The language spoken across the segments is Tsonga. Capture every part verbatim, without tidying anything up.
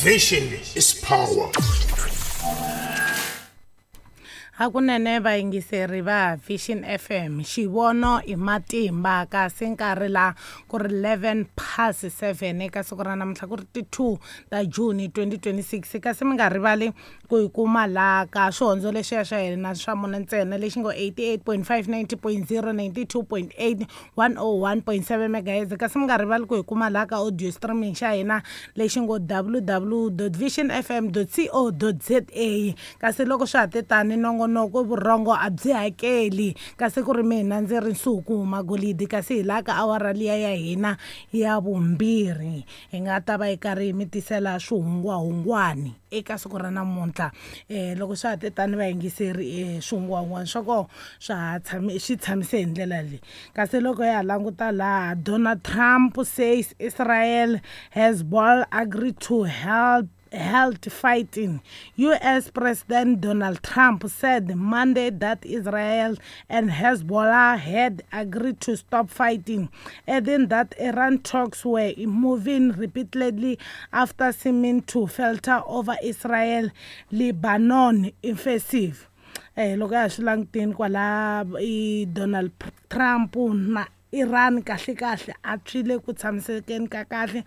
Vision is power. Hakunene vayingiseri va Vision F M, xivono i matimba, kasi nkarhi la ku ri eleven past seven eka siku ra namuntlha ku ri ti two ta June twenty twenty-six. Kasi mi nga rivali ku yi kuma laha ka swihondzo leswiya swa hina swa mune ntsena lexi ngo eighty-eight point five, ninety point zero, ninety-two point eight, one oh one point seven megahertz. Kasi mi nga rivali ku yi kuma laha ka audio streaming xa hina lexi ngo w w w dot vision f m dot co dot z a. Kasi loko swa ha te tani nongonoko vurhongo a byi hakeli, kasi ku ri mina ndzi ri Nsuku Magolidi, kasi hi laha ka awara liya ya hina ya vumbirhi hi nga ta va hi karhi hi mi tisela swihungwahungwani eka siku ra namuntlha. Eh, loko swa ha te tani vayingiseri, eh, swihungwahungwani swa kona swa ha tshami, swi tshamise hi ndlela leyi. Kasi loko ya ha languta laha, Donald Trump says Israel Hezbollah agreed to help health fighting. U S President Donald Trump said Monday that Israel and Hezbollah had agreed to stop fighting, adding that Iran talks were moving repeatedly after seeming to falter over Israel Lebanon offensive. Eh, loko ya swi langutini kwala i Donald Trump na Iran kahle kahle a swi le ku tshamisekeni ka kahle.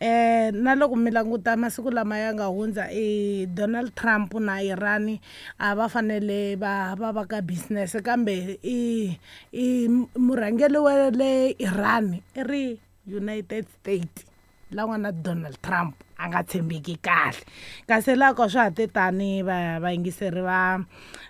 Eh, na loko mi languta masiku lama ya nga hundza, i Donald Trump na Iran a va fanele va va va ka business, kambe i, i murhangeri wa le Iran i ri United States la nga na Donald Trump a nga tshembeki kahle. Kasi laha ka swa ha te tani va vayingiseri va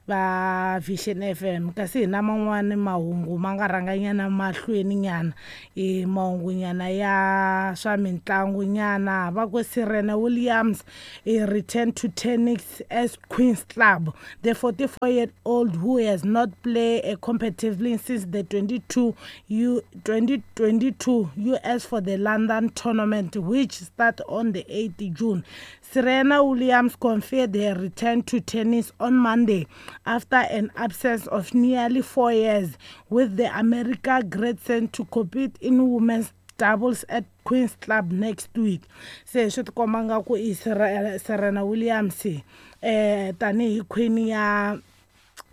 va Vision F M, kasi hi na man'wani mahungu ma nga rhanganyana mahlweni nyana, i mahungu nyana ya swa mitlangu nyana. Va ku Serena Williams i returned to tennis as Queen's Club. The forty-four-year-old who has not played a competitively since the twenty-two U, twenty twenty-two U S for the London tournament, which start on the eighth June. Serena Williams confirmed her return to tennis on Monday after an absence of nearly four years, with the America great sent to compete in women's doubles at Queen's Club next week. Se swi tikomba nga ku i Serena Williams eh tanihi queen ya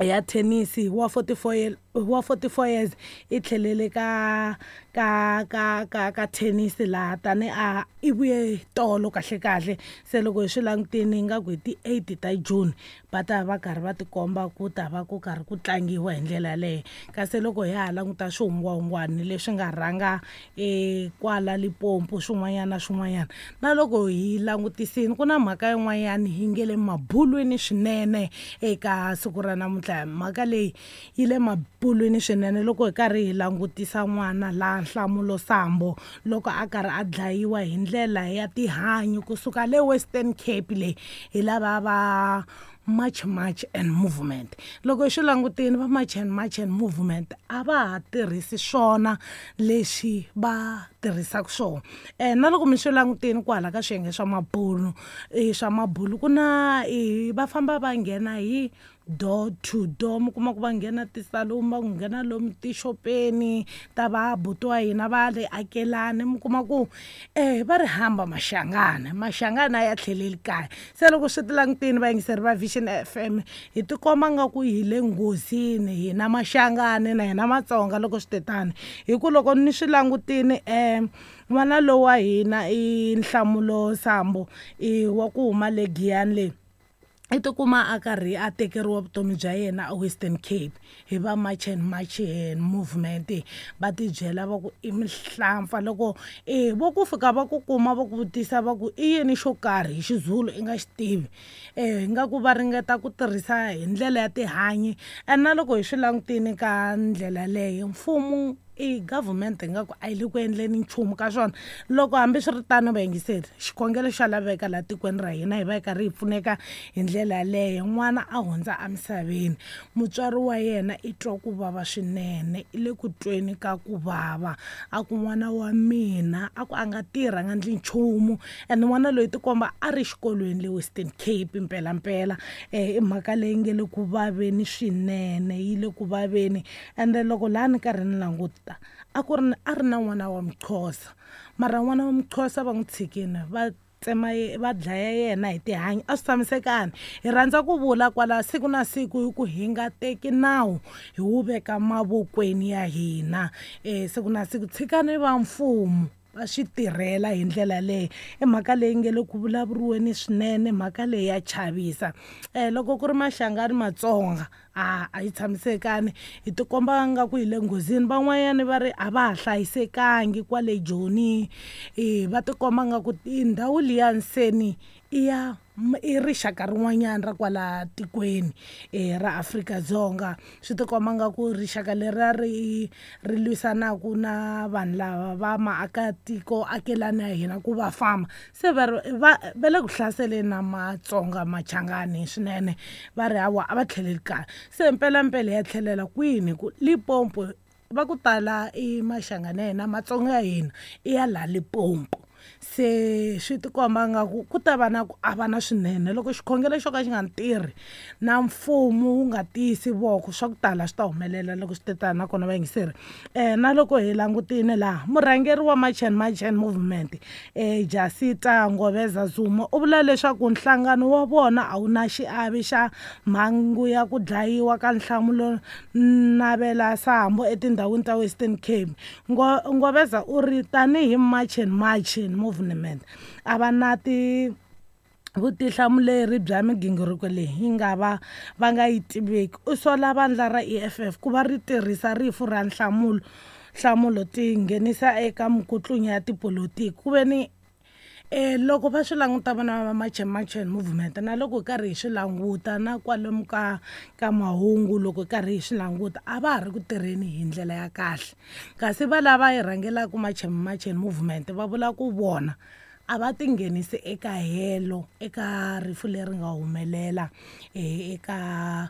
ya tennis wa forty-four year, wa forty-four years i tlhelele ka ka ka ka ka tennis laha tani a i vuye tolo kahle kahle. Se loko hi swi langutini ingaku hi ti eight ta June va ta va karhi va tikomba ku ta va ku karhi ku tlangiwa hi ndlela yaleyo. Kasi loko hi ha languta swihungwahungwani leswi nga rhanga e kwala Limpopo swin'wanyana na swin'wanyana, na loko hi langutisini ku na mhaka yin'wanyana yi nge le mabulwini swinene eka siku ra namuntlha. Mhaka leyi yi le mabulwini swinene loko hi karhi hi langutisa n'wana la Nhlamulo Sambo loko a karhi a dlayiwa hi ndlela ya tihanyi kusuka le Western Cape leyi hi lava va March March and Movement. Loko hi swi langutini va March and March and Movement a va ha tirhisi swona leswi va tirhisaka swona. Eh, na loko mi swi langutini kwala ka swiyenge swa mabulu, eh, swa mabulu ku na, eh, va famba va nghena hi door to door, mi kuma ku va nghena tisaluni, va nghena lomu tixopeni ta va buti wa hina va le akelani, mi kuma ku eh va ri hamba Mashangana, Mashangana ya tlheleli kaya. Se loko swi ti langutini vayingiseri va Vision F M hi tikomba nga ku hi le nghozini hina Mashangani na hina Matsonga loko swi te tani, hi ku loko ni swi langutini eh n'wana lowa wa hina i Nhlamulo Sambo i wa ku huma le Giyani le i tikuma a karhi a tekeriwa vutomi bya yena a Western Cape hi va March and March and Movement. Va tibyela va ku i mihlampfa loko eh vo ku fika va ku kuma va ku vutisa va ku i yini xo karhi hi xiZulu i nga xi tivi, eh ingaku va ringeta ku tirhisa hi ndlela ya tihanyi. And na loko hi swi langutini ka ndlela leyo mfumo i government ingaku a yi le ku endleni nchumu ka swona. Loko hambiswiritano vayingiseri, xikhongelo xa laveka laha tikweni ra hina hi va hi karhi hi pfuneka hi ndlela yaleyo. N'wana a hundza emisaveni, mutswari wa yena i twa ku vava swinene, i le ku tweni ka ku vava, a ku n'wana wa mina a ku a nga tirhi a nga endli nchumu. And n'wana loyi tikomba a ri xikolweni le Western Cape mpelampela. Eh, i mhaka leyi nge le ku vaveni swinene, yi le ku vaveni. Ende loko laha ni karhi ni languta a ku ri a ri na n'wana wa Mxhosa, mara n'wana wa Mxhosa va n'wi tshikini va tsema va dlaya yena hi tihanyi. A swi tshamisekani. Hi rhandza ku vula kwala siku na siku hi ku hi nga teki nawu hi wu veka mavokweni ya hina. E siku na siku tshikani va mfumo va swi tirhela hi ndlela leyi. I mhaka leyi nge le ku vulavuriweni swinene, mhaka leyi ya chavisa. um loko ku ri Mashangani Matsonga a a yi tshamisekani, hi tikomba nga ku hi le nghozini. Van'wanyani va ri a va ha hlayisekangi kwale Joni, e va tikomba nga ku ndhawu liya nseni i ya i rixaka rin'wanyana ra kwala tikweni e ra Afrika-Dzonga. Swi tikomba nga ku rixaka leriya ri ri lwisanaku na vanhu lava va maakatiko akelani ya hina ku va famba, se va ri va va le ku hlaseleni na Matsonga Machangani swinene, va ri hawa a va tlheleli kaya. Se mpelampela ya tlhelela kwini ku Limpopo va ku tala i Mashangani ya hina Matsonga ya hina i ya laha Limpopo. Se swi tikomba nga ku ku ta va na ku avana swinene loko xikhongelo xo ka xi nga tirhi na mfumo wu nga tiyisi voko, swa ku tala swi ta humelela loko swi te tani. Nakona vayingiseri um na loko hi langutile laha murhangeri wa March and March Movement um Jacinta Ngoveza Zuma u vula leswaku nhlangano wa vona a wu na xiave xa mhangu ya ku dlayiwa ka Nhlamulo Navela Sambo etindhawini ta Western Cape. Ngo Ngoveza u ri tanihi March and March Movement a va na ti vutihlamuleri bya migingiriko leyi yi nga va va nga yi tiveki. U sola vandla ra E F F ku va ri tirhisa rifu ra Nhlamulo Nhlamulo ti nghenisa eka mikutlunya ya tipolotiki. Ku ve ni e loko va swi languta vona va March and March Movement na loko hi karhi hi swi languta na kwalomu ka ka mahungu loko hi karhi hi swi languta a va ha ri ku tirheni hi ndlela ya kahle, kasi va lava yi rhangelaka March and March Movement va vula ku vona a va tinghenisi eka helo eka rifu leri nga humelela eka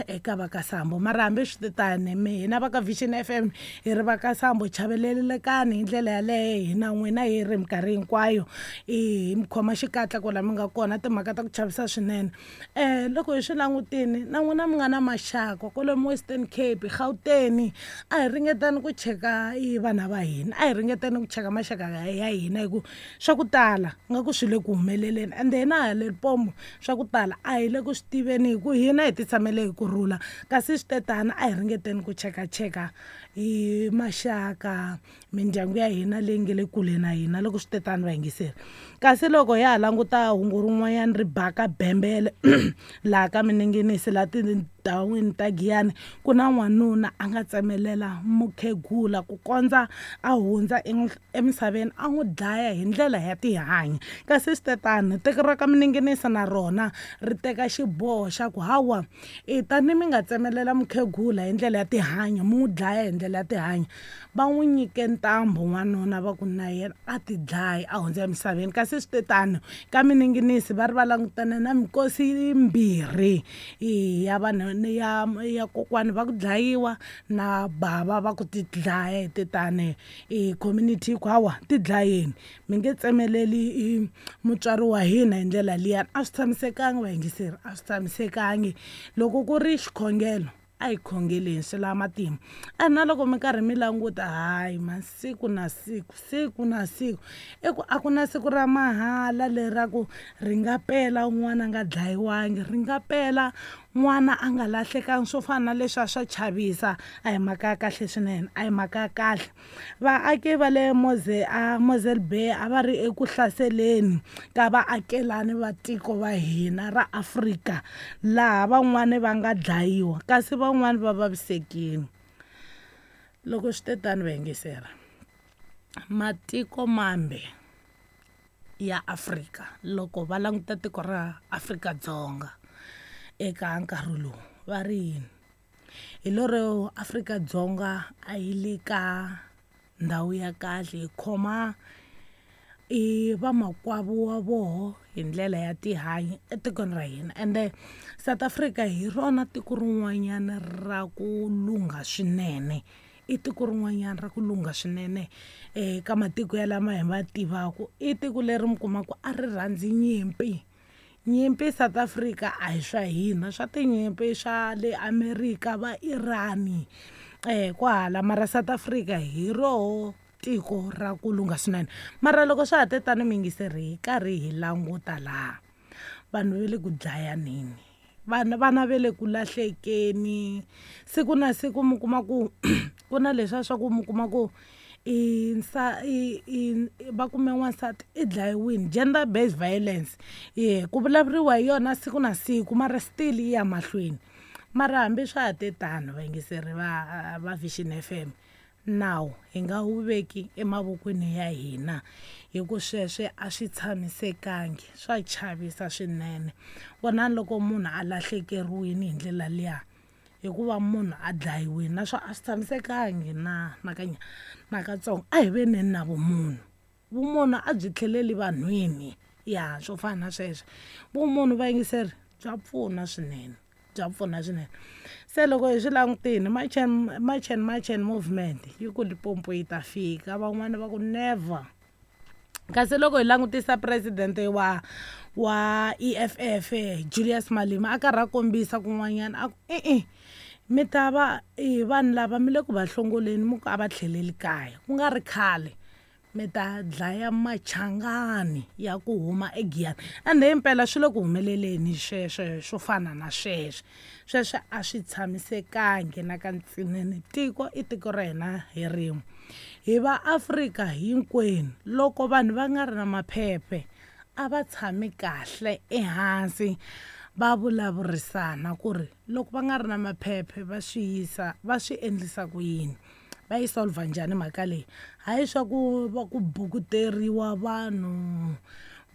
eka va ka Sambo. Mara hambi swi tani hina va ka Vision F M hi ri va ka Sambo chavelelekani hi ndlela yaleyo, hina n'wina hi ri minkarhi hinkwayo hi mi khoma xikatla kwala mi nga kona. Timhaka ta ku chavisa swinene. um loko hi swi langutini na n'wina mi nga na maxaka kwalomu Western Cape, Gauteng, a hi ringetani ku cheka i vana va hina, a hi ringetani ku cheka maxaka ya hina hi ku swa ku tala nga ku swi le ku humeleleni. Ende hina ha le Limpopo swa ku tala a hi le ku swi tiveni hi ku hina hi ti tshamele hi ku rhula, kasi swi tetana a hi ringeteni ku chekacheka hi maxaka mindyangu ya hina leyi nge le kule na hina loko swi tetana vayingiseri. Kasi loko ya ha languta hungu rin'wanyana ri baka bembele laha ka mininginisi laha tindhawini ta Giyani, ku na n'wanuna a nga tsemelela mukhegula ku kondza a hundza emisaveni a n'wi dlaya hi ndlela ya tihanyi. Kasi swi tetana tiko ra ka mininginisi na rona ri teka xiboho xa ku hawa e tani mi nga tsemelela mukhegula hi ndlela ya tihanyi mi n'wi dlaya hi ndlela ya tihanyi, va n'wi nyike ntambu n'wanuna va ku na yena a ti dlaya a hundza emisaveni. Kasi swi tetano ka mininginisi va ri va langutane na mikosi yimbirhi ya vanhu ya ya kokwani va ku dlayiwa na bava va ku ti dlaya hi tetane i community ku hawa ti dlayeni mi nge tsemeleli mutswari wa hina hi ndlela liyani. A swi tshamisekangi vayingiseri, a swi tshamisekangi. Loko ku ri xikhongelo a hi khongeleni swi lava matimba. A na loko mi karhi mi languta hayi masiku na siku siku na siku i ku a ku na siku ra mahala leraku ri nga pela n'wana a nga dlayiwangi, ri nga pela n'wana a nga lahlekangi, swo fana na leswiya swa chavisa. A hi mhaka ya kahle swinene, a hi mhaka ya kahle. Vaaki va le Moze a Mosel Bay a va ri eku hlaseleni ka vaakelani va tiko va hina ra Afrika, laha van'wani va nga dlayiwa kasi van'wani va vavisekile. Loko swi te tani vayingiseri, matiko mambe ya Afrika loko va languta tiko ra Afrika-Dzonga eka nkarhi lowu va ri yini, hi lero Afrika-Dzonga a yi le ka ndhawu ya kahle, hi khoma i vamakwavo wa voho hi ndlela ya tihanyi etikweni ra hina. Ende South Africa hi rona tiko rin'wanyana ra ku lungha swinene, i tiko rin'wanyana ra ku lungha swinene eka matiko ya lama hi ma tivaka. I tiko leri mi kumaka a ri rhandzi nyimpi. Nyimpi South Africa a hi swa hina, swa tinyimpi swa le America va Irani eh kwahala, mara South Africa hi roho tiko ra ku lungha swinene. Mara loko swa ha te tano muyingiseri hi karhi hi languta laha vanhu va le ku dlayaneni, vana vana va le ku lahlekeni siku na siku. Mi kuma ku ku na leswiya swa ku mi kuma ku i nsa i i va kume n'wansati i dlayiwini, gender based violence ye ku vulavuriwa hi yona siku na siku, mara still yi ya mahlweni. Mara hambi swa ha te tano vayingiseri va va Vision F M, nawu hi nga wu veki emavokweni ya hina hi ku sweswe a swi tshamisekangi, swa chavisa swinene. Vonani loko munhu a lahlekeriwile hi ndlela liya hikuva munhu a dlayiwile, naswona a swi tshamisekangi na na ka na katsongo. A hi veni na vumunhu, vumunhu a byi tlheleli vanhwini ya swo fana na sweswo. Vumunhu vayingiseri bya pfuna swinene, bya pfuna swinene. Se loko hi swi langutile March and March and March and movement yi ku Limpopo yi ta fika, van'wani va ku never. Kasi loko hi langutisa president wa wa E F F Julius Malema a karhi a kombisa kun'wanyana a ku e-e mi ta va i vanhu lava mi le ku va hlongoleni mi ku a va tlheleli kaya, ku nga ri khale mi ta dlaya machangani ya ku huma eGiyani. Ende himpela swi le ku humeleleni sweswo swo fana na sweswo. Sweswo a swi tshamisekangi na ka ntsinene. Tiko i tiko ra hina hi rin'we, hi va Afrika hinkwenu. Loko vanhu va nga ri na maphephe a va tshami kahle ehansi va vulavurisana ku ri loko va nga ri na maphephe va swi yisa va swi endlisa ku yini, va yi solve njhani mhaka leyi. Hayi swa ku va ku bukuteriwa vanhu,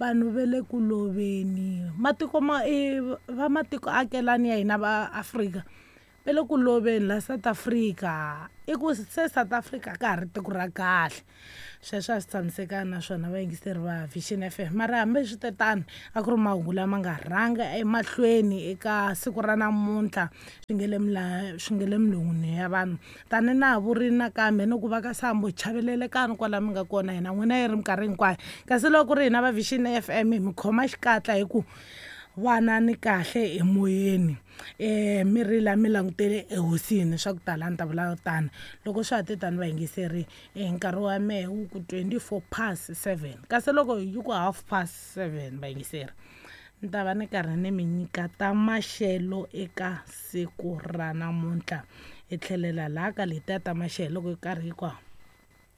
vanhu va le ku loveni. Matiko ma i va matiko akelani ya hina va Afrika va le ku loveni la South Africa. I ku se South Africa ka ha ri tiko ra kahle. Sweswo a swi tshamisekanga naswona vayingiseri va Vision F M. Mara hambi swi te tano a ku ri mahungu lama nga rhanga emahlweni eka siku ra namuntlha, swi nge le swi nge le milon'wini ya vanhu. Tani na ha vurile nakambe ni ku va ka Sambo chavelelekani kwala mi nga kona hina n'wina yi ri minkarhi hinkwayo. Kasi loko ku ri hina va Vision F M hi mi khoma xikatla hi ku vanani kahle emoyeni, eh mi rila mi langutele ehosini swa ku tala ni ta vula tano. Loko swa ha te tano vayingiseri nkarhi wa mehe wu ku twenty-four past seven, kasi loko yi ku half past seven vayingiseri ni ta va ni karhi ni mi nyika ta maxelo eka siku ra namuntlha. Hi tlhelela laha ka letiya ta maxelo loko yi karhi yi ku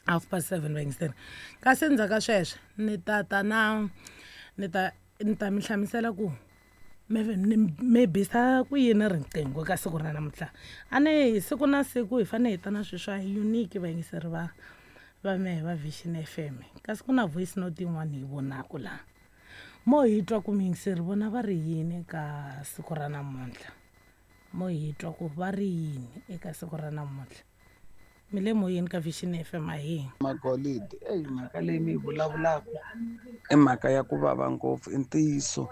half past seven vayingiseri. Kasi endzhaku ka sweswo ni ta ta na ni ta ni ta mi hlamusela ku mi bisa ku yini riqingho ka siku ra namuntlha. A ni siku na siku hi fanele hi ta na swilo swa unique vayingiseri va va mehe va Vision F M. Kasi ku na voice note yin'wana hi vonaka laha mo hi twa ku muyingiseri vona va ri yini eka siku ra namuntlha, mo hi twa ku va ri yini eka siku ra namuntlha. Mi le moyeni ka Vision F M a hi Magolide. Eyi mhaka leyi mi yi vulavulaka i mhaka ya ku vava ngopfu, i ntiyiso.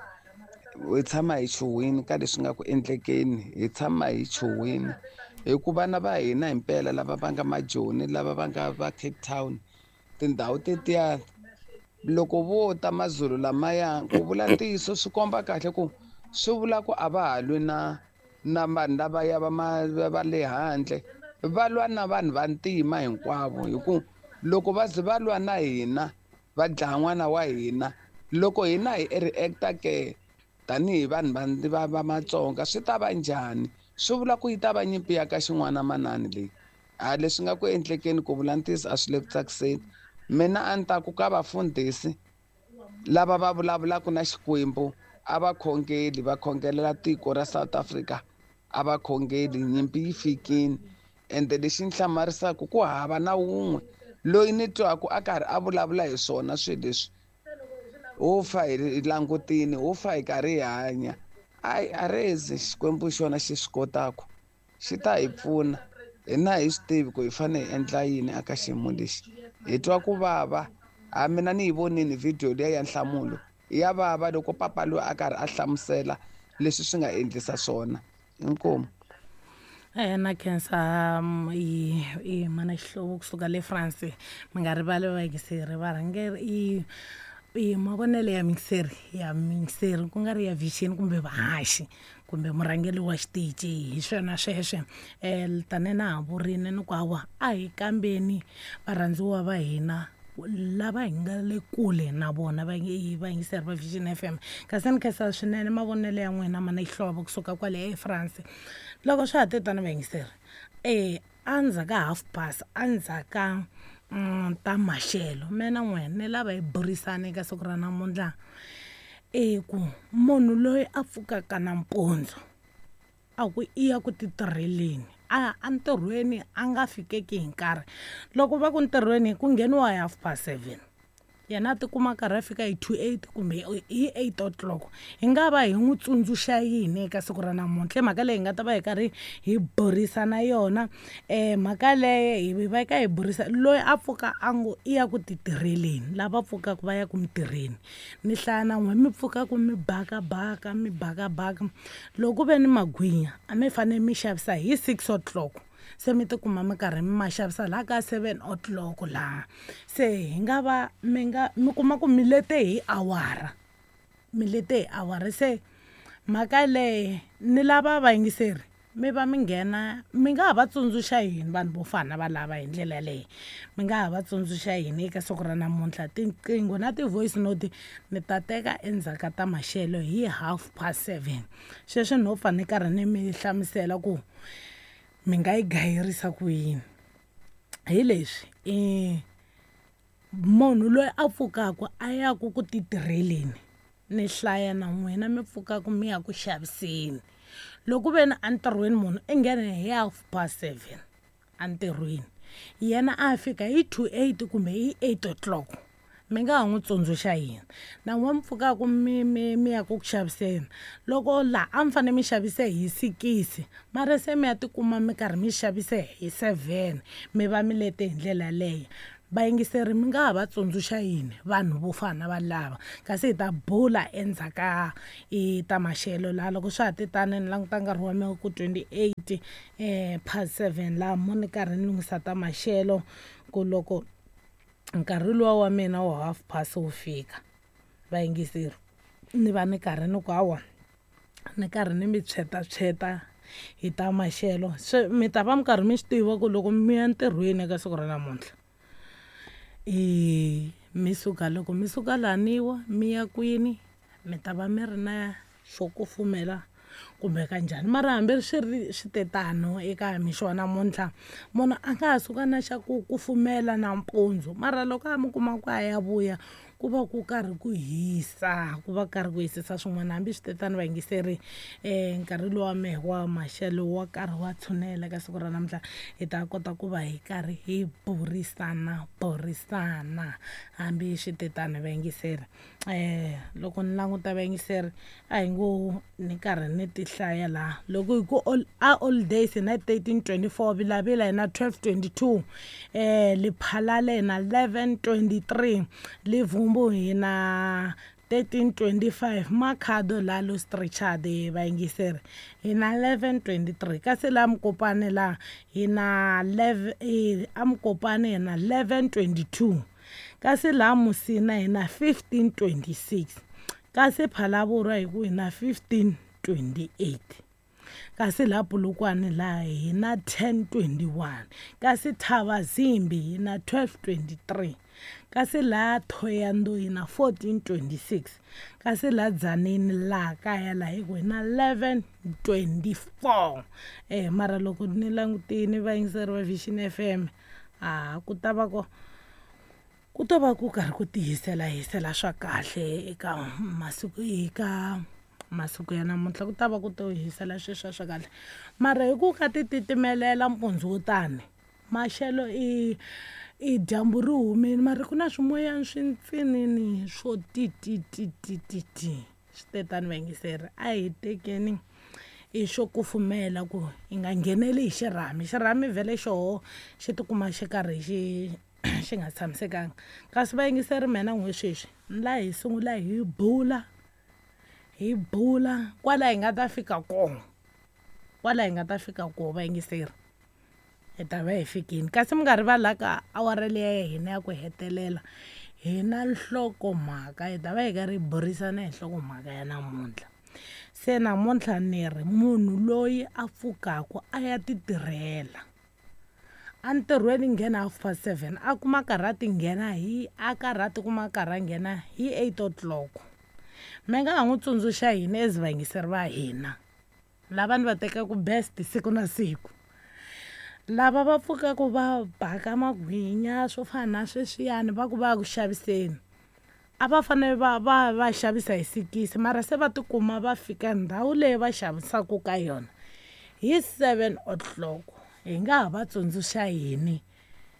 Hi tshama hi chuhwini ka leswi nga ku endlekeni, hi tshama hi chuhwini hi ku vana va hina himpela lava va nga majoni, lava va nga va Cape Town, tindhawu tetiya loko vo ta mazulu lamaya, ku vula ntiyiso swi komba kahle ku swi vula ku a va ha lwi na na vanhu lavaya va ma va le handle, va lwa na vanhu va ntima hinkwavo. Hi ku loko va ze va lwa na hina va dlaya n'wana wa hina, loko hina hi react-a ke tanihi vanhu va va Matsonga swi ta va njhani? Swi vula ku yi ta va nyimpi ya ka xin'wana manani leyi. A leswi nga ku endlekeni ku vula ntiyiso a swi le ku tsakiseni. Mina a ni ta ku ka vafundhisi lava va vulavulaka na Xikwembu a va khongeli, va khongelela tiko ra South Africa, a va khongeli, nyimpi yi fikini. Ende lexi ni hlamarisaka ku hava na wun'we loyi ni twaku a karhi a vulavula hi swona swilo leswi. Ho fa hi langutini, ho fa hi karhi hi hanya. Ayi a rezi Xikwembu xona xi swi kotaka, xi ta hi pfuna. Hina hi swi tivi ku hi fanele hi endla yini aka xiyimo lexi. Hi twa ku vava. A mina ni yi vonini video liya ya nhlamulo, ya vava loko papa loyi a karhi a hlamusela leswi swi nga endlisa swona. Inkomu. Eh na khensa i i mana Xihlovo kusuka le France. Mi nga rivali vayingiseri varhangeri i I mavonelo ya mixer ya mixer ku nga ri ya Vision kumbe vahaxi kumbe murhangeri wa xitichi, hi swona sweswe. um tani na ha vurini ni ku hawa a hi kambeni varhandziwa va hina lava hi nga le kule na vona vayingiseri va Vision F M. Kasi ni khensa swinene mavonelo ya n'wina ma na xihlovo kusuka kwale eFrance. Loko swa ha te tani vayingiseri, e endzhaku ka half past, endzhaku ka ta maxelo, mina na n'wina ni lava hi burisana eka siku ra namuntlha i ku munhu loyi a pfukaka nampundzu a ku i ya ku titirheleni, a entirhweni a nga fikeki hi nkarhi. Loko va ku ntirhweni ku ngheniwa hi half past seven, yena a tikuma karhi a fika hi two eight kumbe hi eight o'clock. Hi nga va hi n'wi tsundzuxa yini eka siku ra namuntlha? I mhaka leyi hi nga ta va hi karhi hi burisana yona. um mhaka leyi hi va ka hi burisa loyi a pfuka a ngo i ya ku titirheleni, lava pfukaka va ya ku mitirheni. Ni hlaya na n'we mi pfukaka mi bakabaka mi bakabaka, loko ku ve ni magwinya a mi fanele mi xavisa hi six o'clock, se mi tikuma mi karhi mi ma xavisa laha ka seven o'clock laha. Se hi nga va mi nga mi kuma ku mi lete hi awara, mi lete hi awara. Se mhaka leyi ni lava vayingiseri mi va mi nghena, mi nga ha va tsundzuxa yini vanhu vo fana va lava hi ndlela yaleyo? Mi nga ha va tsundzuxa yini eka siku ra namuntlha? Tinqingho na ti-voice note ni ta teka endzhaku ka ta maxelo hi half past seven. Sweswi no pfa ni karhi ni mi hlamusela ku mi nga yi gayirisa ku yini. Hi leswi i munhu loyi a pfukaka a ya ku ku titirheleni, ni hlaya na n'wina mi pfukaka mi ya ku xaviseni. Loko ve ni entirhweni munhu i nghene hi half past seven entirhweni, yena a fika hi two eight kumbe hi eight o'clock, mi nga ha n'wi tsundzuxa yini? Na n'we mi pfukaka mi mi mi ya ku ku xaviseni, loko laha a mi fanele mi xavise hi sikisi, mara se mi ya tikuma mi karhi mi xavise hi seven, mi va mi lete hi ndlela yaleyo. Vayingiseri mi nga ha va tsundzuxa yini vanhu vo fana va lava? Kasi hi ta bula endzhaku ka i ta maxelo laha. Loko swa ha te tani ni languta nkarhi wa mina ku twenty eight um past seven laha mo ni karhi ni lunghisa ta maxelo, ku loko nkarhi luwa wa mina wa half past wu fika, vayingiseri ni va ni karhi ni ku hawa ni karhi ni mi tshwetatshweta hi ta maxelo. Se mi ta va mi karhi mi swi tiva ku loko mi ya ntirhweni eka siku ra namuntlha, i mi suka loko mi suka laniwa mi ya kwini, mi ta va mi ri na xo kufumela kumbe kanjhani. Mara hambi swi ri swi te tano eka mixo wa namuntlha, munhu a nga ha suka na xa ku kufumela nampundzu, mara loko a mi kuma ku a ya vuya ku va ku karhi ku hisa, ku va karhi ku hisisa swin'wana. Hambi swi te tano vayingiseri, um nkarhi lowa mehe wa maxelo wa karhi wa tshunela eka siku ra namuntlha, hi ta kota ku va hi karhi hi burisana burisana hambi swi te tano vayingiseri. um loko ni languta vayingiseri, a hi ngo ni karhi ni ti hlaya laha. Loko hi ku a all days hi na thirteen twenty four, Vilavila hi na twelve twenty two, um Lephalale hi na eleven twenty three, Livumbu hi na thirteen twenty five, Makhado laha Louis Trichardt vayingiseri hi na eleven twenty three, kasi laha Mokopane laha hi na eleven, a Mokopane hi na eleven twenty two, kasi laha Musina hi na fifteen twenty six, kasi Phalaborwa hi ku hi na fifteen twenty eight, kasi laha Polokwane laha hi na ten twenty one, kasi Thabazimbi hi na twelve twenty three, kasi laha Thohoyandou hi na fourteen twenty six, kasi laha Tzaneen laha kaya laha hi ku hi na eleven twenty four. Eh mara loko ni langutini vayingiseri va Vision F M, a ku ta va ko ku to va ku karhi ku tihisela hisela swa kahle eka masiku eka masiku ya namuntlha, ku ta va ku to hisela sweswiya swa kahle. Mara hi ku ka ti titimelela mpundzu wo tani, maxelo i i dyambu ri humile, mara ku na swimoyana swintsinini swo ti ti ti ti ti ti. Swi te tani vayingiseri, a hi tekeni i xo kufumela ku hi nga ngheneli hi xirhami. Xirhami vhele xoho xi tikuma xi karhi xi xi nga tshamisekanga. Kasi vayingiseri mina n'we sweswi ni la hi sungula hi bula hi bula kwala hi nga ta fika kona, kwala hi nga ta fika kona vayingiseri, hi ta va hi fikile. Kasi mi nga rivali la ka awara liya ya hina ya ku hetelela Hi na nhlokomhaka hi ta va hi karhi hi burisana hi nhlokomhaka ya namuntlha. Se namuntlha ni ri munhu loyi a pfukaku a ya ti tirhela entirhweni nghena half past seven a kuma karhi a ti nghena hi a karhi a tikuma a karhi a nghena hi eight o'clock. Mi nga ha n'wi tsundzuxa yini as vayingiseri va hina lava ni va tekaku best siku na siku, lava va pfukaku va baka magwinya swo fana na sweswiyani va ku va ya ku xaviseni, a va fanele va va va xavisa hi sikisi mara se va tikuma va fika ndhawu leyi va xavisaka ka yona hi seven o'clock. Hi nga ha va tsundzuxa yini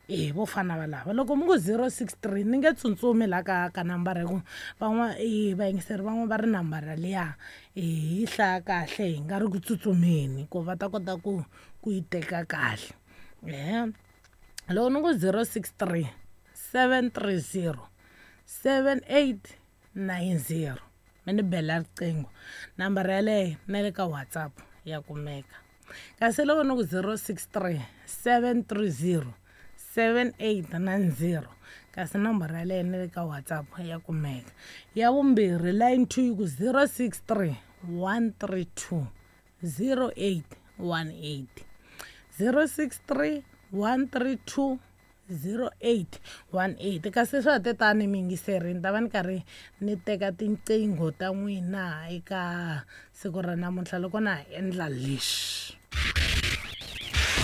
e vo fana va lava? Loko mi ku zero six three ni nge tsutsumi la ka ka nambara hi ku van'wana e vayingiseri van'wana va ri nambara liya hi yi hlaya kahle hi nga ri ku tsutsumeni ku va ta kota ku ku yi teka kahle. Ehe, loko ni ku zero six three seven three zero seven eight nine zero mi ni bela riqingho, nambara yaleyo na le ka WhatsApp ya kumeka. Kasi loko ni ku zero six three seven three zero seven eight nine zero kasi nambara yaleyo na le ka WhatsApp ya kumeka. Ya vumbirhi line two yi ku zero six three one three two zero eight one eight, zero six three one three two zero eight one eight. Kasi swa ha te tani miyingiseri ni ta va ni karhi ni teka tinqingho ta n'wina eka siku ra namuntlha loko na ha endla leswi.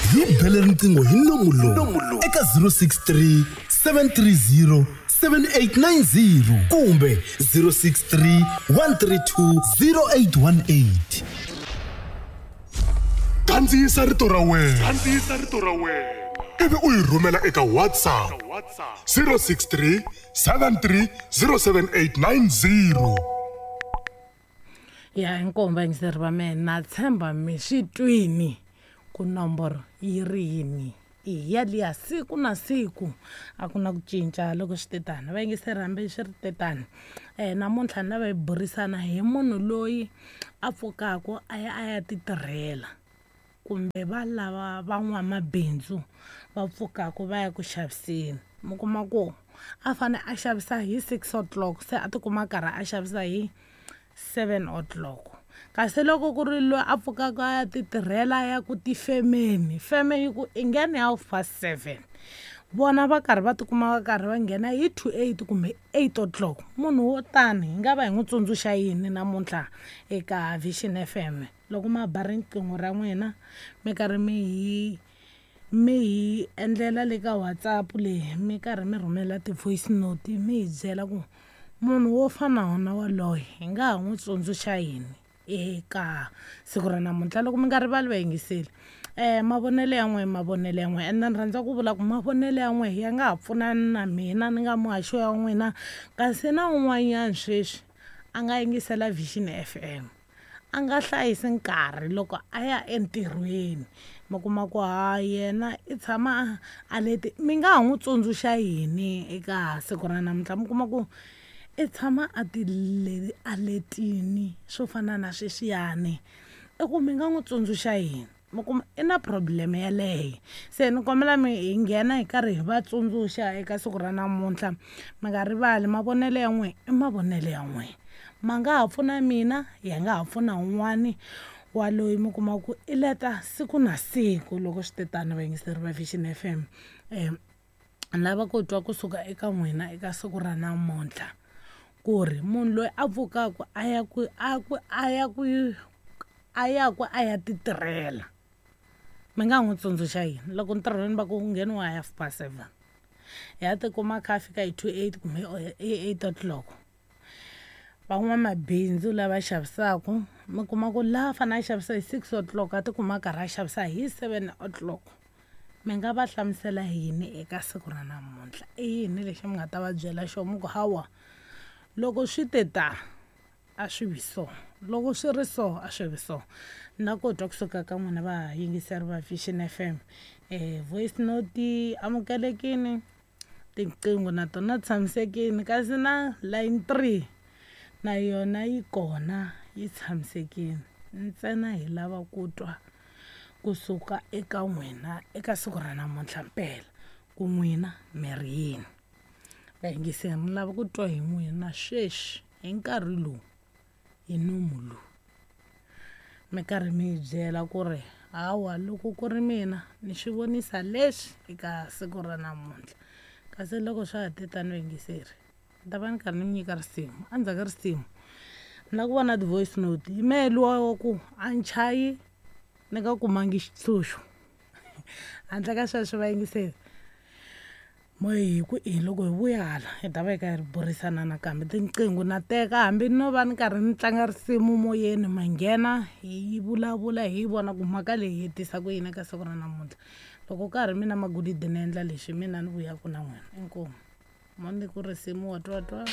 Hi bele riqingho hi nomu lowu eka zero six three seven three zero seven eight nine zero kumbe zero six three one three two zero eight one eight. Kandziyisa rito ra wena, kandziyisa rito ra wena ivi u yi rhumela eka WhatsApp zero six three seven three zero seven eight nine zero. Ya inkomu vayingiseri va mehe, na tshemba mi swi twini ku nomboro yi ri yini. I yaliya siku na siku a ku na ku cinca loko swi te tani. Vayingiseri hambi swi ri te tani, um namuntlha ni lava hi burisana hi munhu loyi a pfukaku a ya a ya ti tirhela kumbe va lava van'wamabindzu va pfukaku va ya ku xaviseni. Mi kuma ku a fane a xavisa hi six o'clock se a tikuma a karhi a xavisa hi seven o'clock. Kasi loko ku ri loyi a pfukaka a ya ti tirhela ya ku tifemeni, feme yi ku i nghena half past seven, vona va karhi va tikuma va karhi va nghena hi two eight kumbe eight o'clock. Munhu wo tani hi nga va hi n'wi tsundzuxa yini namuntlha eka Vision F M? Loko ma ba riqingho ra n'wina mi karhi mi hi mi hi endlela le ka WhatsApp leyi mi karhi mi rhumela ti-voice note mi hi byela ku munhu wo fana na waloye hi nga ha n'wi tsundzuxa yini eka siku ra namuntlha. Loko mi nga rivali vayingiseli, um mavonelo ya n'we mavonelo ya n'we ende ni rhandza ku vula ku mavonelo ya n'we ya nga ha pfunani na mina ni nga muhaxi wa n'wina, kasi na un'wanyana sweswi a nga yingisela Vision F M a nga hlayisi nkarhi loko a ya entirhweni, mi kuma ku ha yena i tshama a leti. Mi nga ha n'wi tsundzuxa yini eka siku ra namuntlha? Mi kuma ku i tshama a ti a letini swo fana na sweswiyani, i ku mi nga n'wi tsundzuxa yini? Mi kuma i na problem yeleyo. Se ni kombela mi hi nghena hi karhi hi va tsundzuxa eka siku ra namuntlha. Mi nga rivali mavonelo ya n'we i mavonelo ya n'we, ma nga ha pfuna mina, ya nga ha pfuna un'wani wa loyi mi kuma ku i leta siku na siku. Loko swi te tani vayingiseri va Vision F M, um ni lava ku twa kusuka eka n'wina eka siku ra namuntlha ku ri munhu loyi a pfukaku a ya ku a ku a ya ku a ya ku a ya ti tirhela, mi nga n'wi tsundzuxa yini? Loko ntirhweni va ku ngheniwa hi half past seven, ya tikuma a kha a fika hi two eight kumbe hi eight o'clock. Van'wamabindzu lava xavisaka mi kuma ku laha a fanele a xavisa hi six o'clock a tikuma a karhi a xavisa hi seven o'clock. Mi nga va hlamusela yini eka siku ra namuntlha? I yini lexi mi nga ta va byela xona? Mi ku hawa loko swi te ta a swi vi so, loko swi ri so a swi vi so. Na ku twa kusuka ka n'wina vayingiseri va Vision F M, um voice note amukelekini, tinqingho na tona tshamisekini, kasi na line three na yona yi kona yi tshamisekile. Ntsena hi lava ku twa kusuka eka n'wina eka siku ra namuntlha mpela ku n'wina mi ri yini. Vayingiseri, ni lava ku twa hi n'wina sweswi hi nkarhi lowu, hi nomu lowu, mi karhi mi hi byela ku ri hawa loko ku ri mina ni swi vonisa leswi eka siku ra namuntlha. Kasi loko swa ha te tano vayingiseri, ni ta va ni karhi ni mi nyika risimu. Endzhaku ka risimu ni lava ku vona ti-voice note, yi mehe luwa wa ku a ni chayi ni nga kumangi xitshunxo. Handle ka sweswo vayingiseri, mo hi ku i loko hi vuya hala hi ta va hi karhi burisana nakambe. Tinqingho na teka hambi no va ni karhi ni tlanga risimu moyeni, ma nghena hi vulavula hi vona ku mhaka leyi yi tisa ku yini eka siku ra namuntlha. Loko ka ha ri mina Magolide ni endla leswi, mina ni vuyaka na n'wina. Inkomu mo ni ku risimu wa twa twa.